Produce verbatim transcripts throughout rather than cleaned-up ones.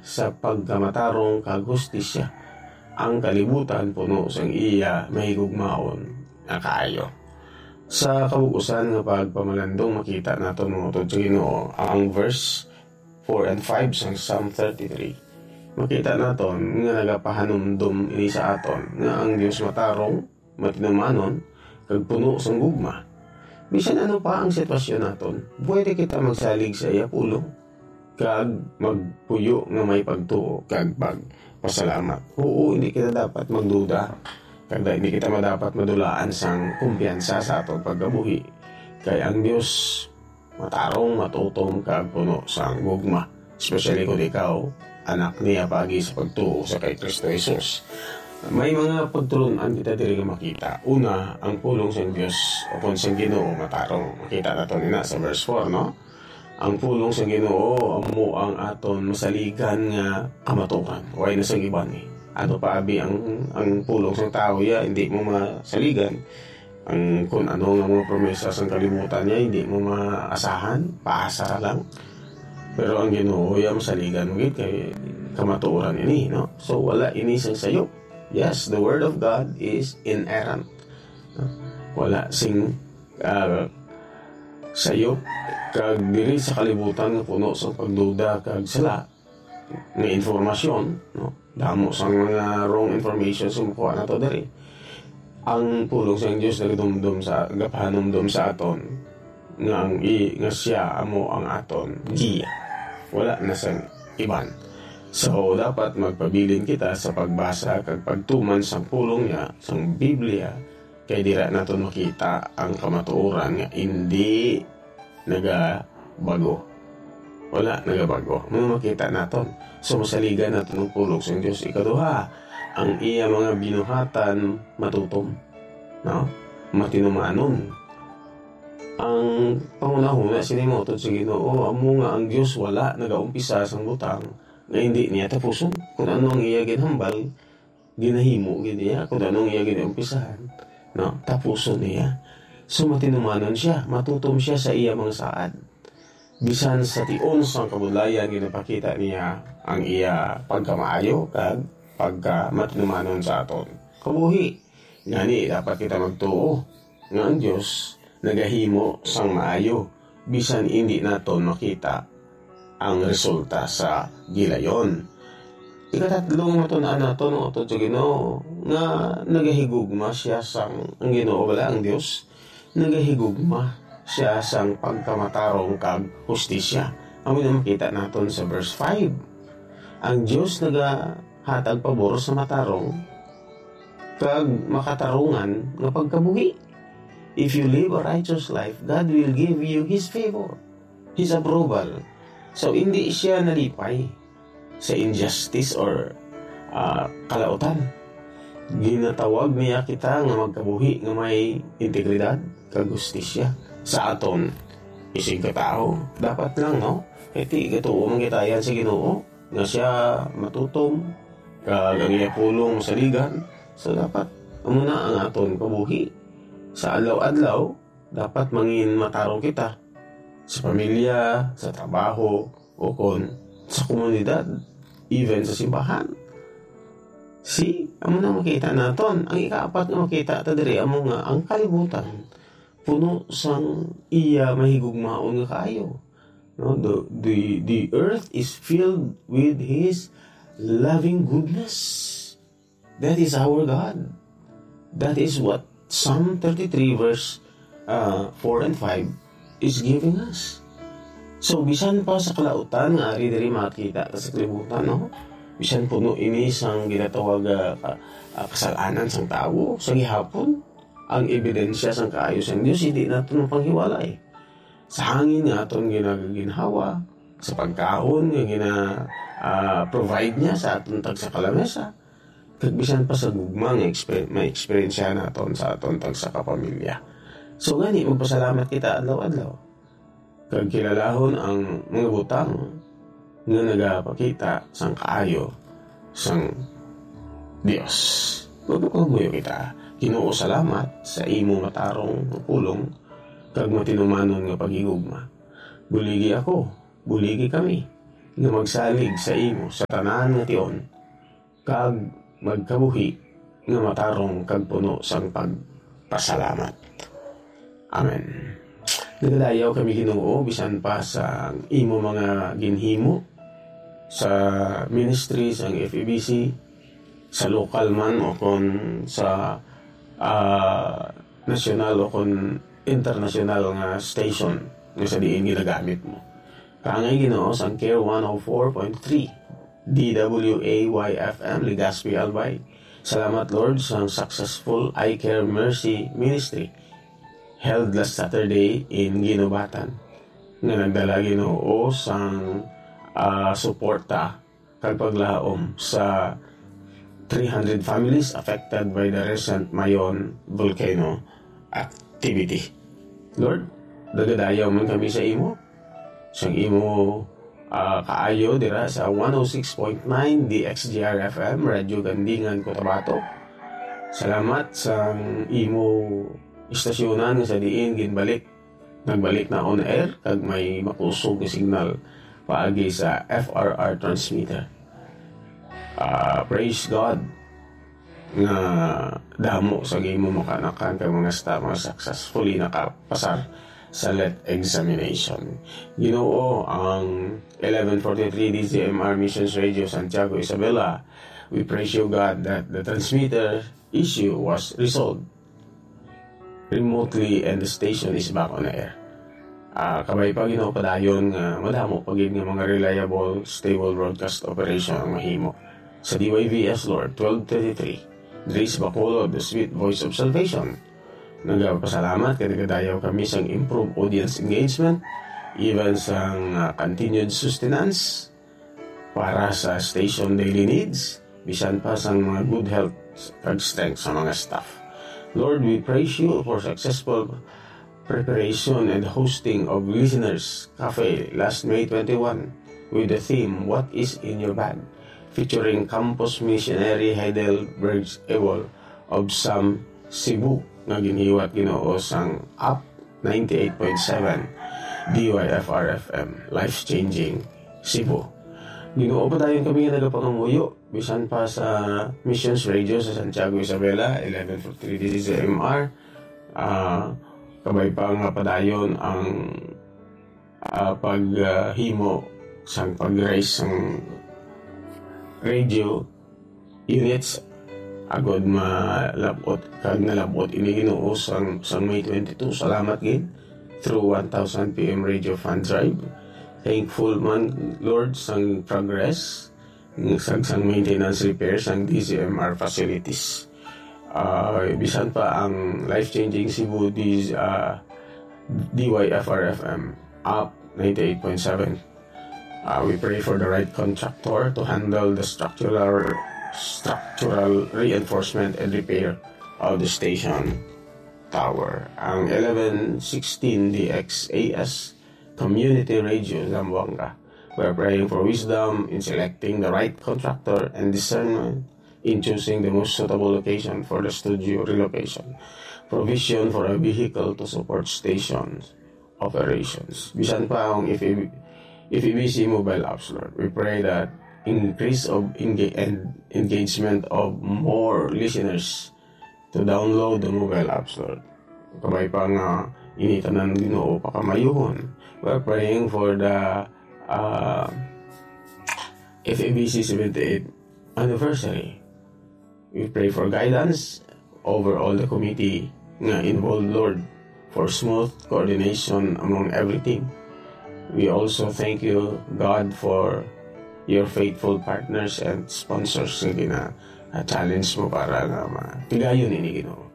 sa pagkamatarong kag hustisya. Ang kalibutan puno sang iya mahigugmaon nga kaayo. Sa kabug-usan nga pagpamalandong, makita naton, mga utod sa Ginoo, ang verse four and five sang Psalm thirty-three. Makita naton nga nagapahanumdom ini sa aton nga ang Dios matarong, matinumanon, kag puno sang gugma. Bisan ano pa ang sitwasyon naton, pwede kita magsalig sa iya pulong kag magpuyo nga may pagtuo kag pagpasalamat. Oo, hindi kita dapat magduda, kag da-, hindi kita madapat madulaan sang kumpiyansa sa aton pagkabuhi, kay ang Dios matarong, matutom, kag puno sang gugma, especially kon ikaw anak niya paagi sa pagtuo sa kay Kristo Jesus. May mga pagtulon-an kita diri nga makita. Una, ang pulong sang Dios o kon sang Ginoo matarong. Makita nato nina sa verse four, no? Ang pulong sang Ginoo amo ang aton masaligan nga kamatuoran. Way na sang iban, eh. Ano pa abi ang, ang pulong sang tawo, ya, hindi mo masaligan. Ang kun ano nga mga promesa sang kalibutan niya, hindi mo maasahan, paasa ra lang. Pero ang Ginoo, ya, masaligan mo gid kay kamatuoran ini, no? So, wala ini sang sayop. Yes, the word of God is inerrant. Wala sing, ah, sayop, kag diri sa kalibutan nga puno sa pagduda kag sala, nga informasyon, no? Damo sang mga wrong information sa makuha nato diri. Ang pulong sang Dios nagadumdom sa, gapahanumdom sa aton nga ang i-, nga siya amo ang aton giya. Wala na sang iban. So, dapat magpabilin kita sa pagbasa kag pagtuman sang pulong niya, sang Biblia, kay dira naton makita ang kamatuoran nga indi nagabago. Wala nagabago. May makita naton. So, masaligan naton ang pulong sang Dios. Ikaduha, ang iya mga binuhatan matutom, no? Matinumanon. Ang panghunahuna sini, mga utod sa Ginoo, amo nga ang Dios wala nagaumpisa sang butang nga indi niya tapuson. Kung ano ang iya ginhambal, ginahimo gid niya, kung ano ang iya ginumpisahan, no, tapuson niya. So, matinumanon siya, matutom siya sa iya mga saad. Bisan sa tion sang kabudlayan, ginapakita niya ang iya pagkamaayo kag pagkamatinumanon sa aton kabuhi. Gani, dapat kita magtuo nga ang Dios nagahimo sang maayo, bisan indi naton makita ang resulta sa gilayon. Ikatatlo nga matun-an naton, mga utod sa Ginoo, nga nagahigugma siya sang, ang Ginoo bala, ang Dios, nagahigugma siya sang pagkamatarong kag hustisya. Amo na makita naton sa verse five. Ang Dios nagahatag pabor sa matarong kag makatarungan nga pagkabuhi. If you live a righteous life, God will give you His favor, His approval. So, hindi siya nalipay sa injustice or, ah, kalautan. Ginatawag niya kita nga magkabuhi nga may integridad kag hustisya sa aton isig katawo. Dapat lang, no? Kay ti gatuo man kita yan sa Ginoo, nga siya matutom, kag ang iya pulong masaligan. So, dapat amo na ang aton kabuhi. Sa adlaw-adlaw, dapat mangin matarong kita sa pamilya, sa trabaho, o kon sa komunidad, even sa simbahan. See, amo na makita naton. Ang ikaapat nga makita ta diri amo nga ang kalibutan puno sang iya mahigugmaon nga kaayo. No, the, the, the earth is filled with His loving goodness. That is our God. That is what Psalm thirty-three verse, uh, four and five is giving us. So, bisan pa sa kalautan nga ari diri makita ta sa kalibutan, no? Bisan puno ini sang ginatawag, ah, ka-, ah, kasalanan sang tawo, sa gihapon, ang ebidensya sang kaayo sang Dios, hindi naton mapanghiwalay. Sa hangin nga aton ginaginhawa, sa pagkaon nga gina-, ah, provide niya sa aton tagsa ka lamesa, kag bisan pa sa gugma nga exper-, ma-experience naton sa aton tagsa ka pamilya. So, gani, magpasalamat kita adlaw-adlaw. Kag kilalahon ang mga butang nga nagapakita sang kaayo sang Dios. Magpapangamuyo kita. Ginoo, salamat sa imo matarong nga pulong kag matinumanon nga paghigugma. Buligi ako, buligi kami, nga magsalig sa imo sa tanan nga tion, kag magkabuhi nga matarong kag puno sang pagpasalamat. Amen. Nagadayaw kami, Ginoo, bisan pa sa imo mga ginhimo sa ministry sang F E B C, sa lokal man o kon sa, ah, nasyonal o kon internasyonal nga station nga sa diin ginagamit mo. Kaangay, Ginoo, sang Care one oh four point three, D W A Y F M, Legazpi, Albay. Salamat, Lord, sang successful Eye Care Mercy Ministry held last Saturday in Guinobatan, nga nagdala, Ginoo, sang, ah, suporta kag paglaom sa three hundred families affected by the recent Mayon volcano activity. Lord, nagadayaw man kami sa imo, sang imo, ah, kaayo dira sa one oh six point nine D X G R F M, Radyo Gandingan, Cotabato. Salamat sang imo istasyonan nga sa diin ginbalik, nagbalik na on air kag may makusog nga signal paagi sa F R R transmitter. Ah, praise God nga damo sa imo mga kaanakan kag mga staff nga successfully nakapasar sa let examination. Ginoo, ang eleven forty-three D Z M R Missions Radio Santiago, Isabela, we praise you, God, that the transmitter issue was resolved remotely and the station is back on air. Ah, kabay pa, Ginoo, padayon nga madamo pa gid nga mga reliable, stable broadcast operation ang mahimo sa D Y V S, Lord, twelve thirty-three, Grace Bacolod, The Sweet Voice of Salvation. Nagapasalamat kay nagadayaw kami sang improved audience engagement, even sang, ah, continued sustenance para sa station daily needs, bisan pa sang mga good health kag strength sa mga staff. Lord, we praise you for successful preparation and hosting of Listeners Cafe last May twenty-one with the theme, "What is in Your Bag?", featuring campus missionary Heidelberg Ewol of Sam, Cebu, nga ginhiwat, Ginoo, sang App ninety-eight point seven D Y F R F M, Life Changing Cebu. Ginoo, padayon kami nga nagapangamuyo, bisan pa sa Missions Radio sa Santiago, Isabela, eleven forty-three D Z M R. Ah, kabay pa nga padayon ang, ah, pag, ah, himo sang pag-raise sang radio units, agod malab-ot kag nalab-ot ini, Ginoo, sang, sang May twenty-two. Salamat gid through one thousand P M Radio Fund Drive. Thankful man, Lord, sang progress sang, sang maintenance repair sang D Z M R facilities. Ah, bisan pa ang Life Changing Cebu, D-, ah, D Y F R F M, App ninety-eight point seven. Uh, we pray for the right contractor to handle the structural, structural reinforcement and repair of the station tower. Ang eleven sixteen D X A S Community Radio Zamboanga. We are praying for wisdom in selecting the right contractor and discernment in choosing the most suitable location for the studio relocation. Provision for a vehicle to support stations operations. Bisan pa ang F E B, F E B C mobile apps, Lord. We pray that increase of enga-, and engagement of more listeners to download the mobile apps, Lord. Kabay pa nga ini tanan, Ginoo, pakamayuhon. We're praying for the, uh, F E B C seventy-eighth anniversary. We pray for guidance over all the committee nga involved, Lord, for smooth coordination among everything. We also thank you, God, for your faithful partners and sponsors nga gina-, ah, challenge mo para nga matigayon ini, Ginoo.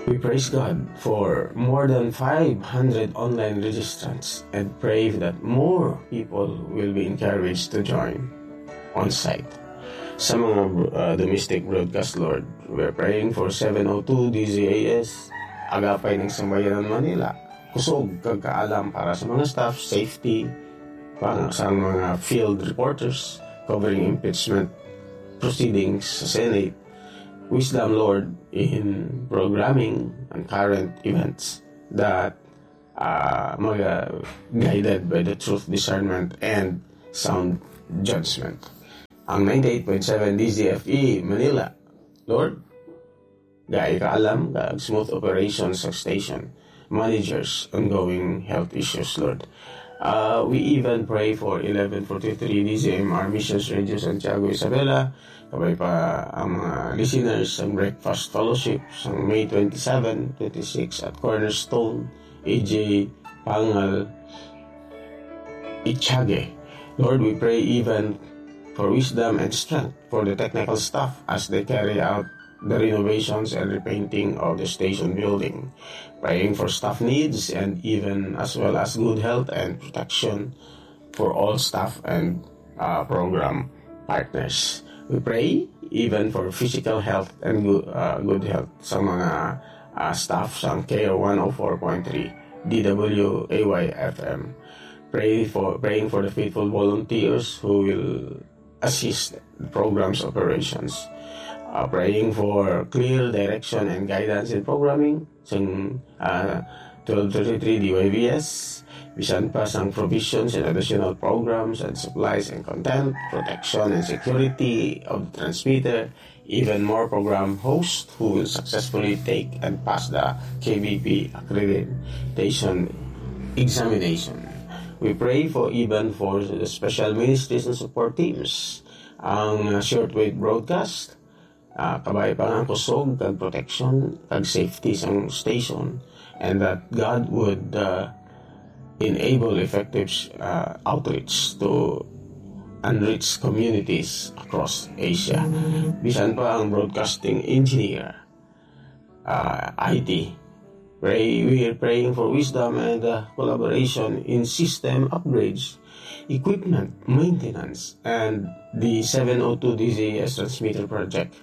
We praise God for more than five hundred online registrants and pray that more people will be encouraged to join on site. Sa mga, uh, domestic broadcast, Lord, we're praying for seven oh two D Z A S, Agapay ng Sambayanan Manila, kusog kag kaalam para sa mga staff, safety, para sa mga field reporters covering impeachment proceedings sa Senate. Wisdom, Lord, in programming and current events that, uh, mga guided by the truth, discernment, and sound judgment. Ang ninety-eight point seven D Z F E Manila, Lord, gai kaalam kag smooth operations sa station, managers, ongoing health issues, Lord. Uh, we even pray for eleven forty-three D Z M R Missions Radio Santiago Isabela, kabay pa ang mga listeners sang Breakfast Fellowship sang May twenty-seven, twenty-six at Cornerstone, A J Pangal, Ichage. Lord, we pray even for wisdom and strength for the technical staff as they carry out the renovations and repainting of the station building. Praying for staff needs and even as well as good health and protection for all staff and, uh, program partners. We pray even for physical health and gu-, uh, good health sa mga, uh, staff sa K one oh four point three D W A Y F M. Pray for, praying for the faithful volunteers who will assist the program's operations. Uh, praying for clear direction and guidance in programming. Sang, uh, twelve thirty-three D Y V S, bisan pa sang provisions and additional programs and supplies and content, protection and security of the transmitter, even more program host who will successfully take and pass the K B P accreditation examination. We pray for even for the special ministries and support teams, ang, uh, shortwave broadcast, uh, kabay pa nga kusog kag protection kag safety sang station, and that God would, uh, enable effective, uh, outreach to unreached communities across Asia. Bisan pa ang broadcasting engineer, uh, I T. Pray, we are praying for wisdom and, uh, collaboration in system upgrades, equipment maintenance, and the seven oh two D Z S transmitter project.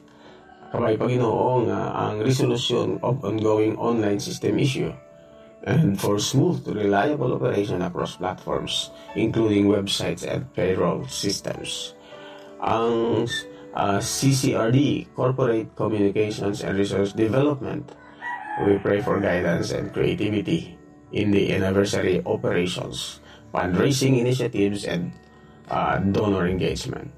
Kabay pa, Ginoo, nga ang resolution of ongoing online system issue and for smooth, reliable operation across platforms, including websites and payroll systems. Ang, uh, C C R D, Corporate Communications and Resource Development, we pray for guidance and creativity in the anniversary operations, fundraising initiatives, and, uh, donor engagement.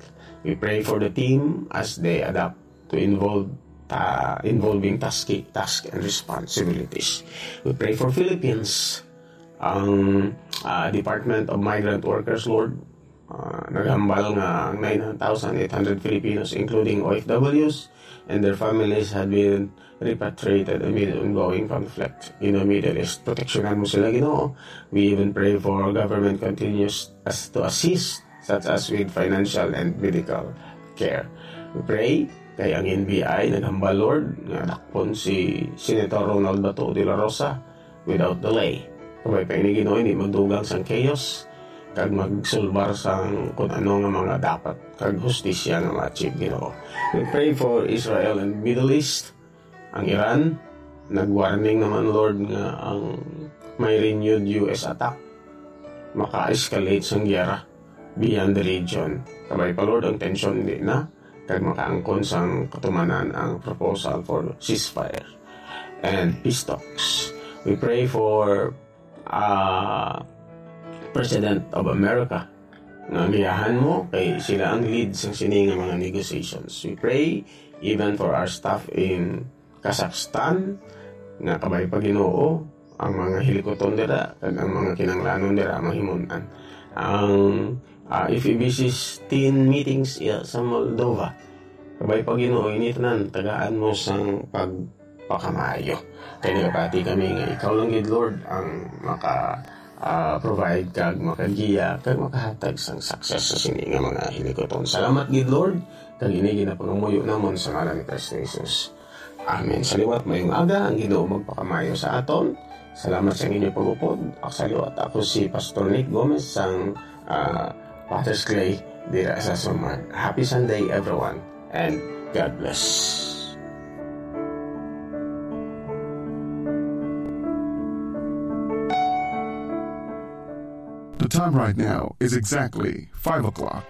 We pray for the team as they adapt to involve, uh, involving task, task and responsibilities. We pray for Philippines, ang, uh, Department of Migrant Workers, Lord, uh, naghambal nga ang nine thousand eight hundred Filipinos, including O F Ws and their families, had been repatriated amid ongoing conflict in the Middle East. Proteksyonan mo sila, Ginoo. We even pray for government continues as to assist, such as with financial and medical care. We pray kay ang N B I naghambal, Lord, nga dakpon si Senator Ronald Bato de la Rosa without delay. Kabay pa ini, Ginoo, hindi magdugang sang chaos kag magsulbar sang kun ano nga mga dapat kag hustisya nga ma-achieve, Ginoo. We pray for Israel and Middle East. Ang Iran, nag-warning naman, Lord, nga ang may renewed U S attack maka-escalate sang giyera beyond the region. Kabay pa, Lord, ang tensyon hindi na, kag makaangkon sang katumanan ang proposal for ceasefire and peace talks. We pray for, uh, President of America, nga giyahan mo, kay sila ang lead sang sini nga mga negotiations. We pray even for our staff in Kazakhstan, nga kabay pa, Ginoo, ang mga hilikuton dira kag ang mga kinanglanon dira mahimon-an. Ang, ah, F E B C's teen meetings, iya, sa Moldova, kabay pa, Ginoo, ini tanan tagaan mo sang pagpakamaayo. Kay nagapati kami nga ikaw lang gid, Lord, ang maka, ah, provide kag makagiya kag makahatag sang success sa sini nga mga hilikuton. Salamat gid, Lord, kag ini ginapangamuyo namon sa ngalan ni Cristo Jesus. Amen. Sa liwat, mayong aga, ang Ginoo magpakamaayo sa aton. Salamat sa inyo pag-upod. Ako sa liwat, ako si Pastor Nick Gomez sang, ah, Potter's Clay dira sa Sumad. Happy Sunday, everyone, and God bless. The time right now is exactly five o'clock.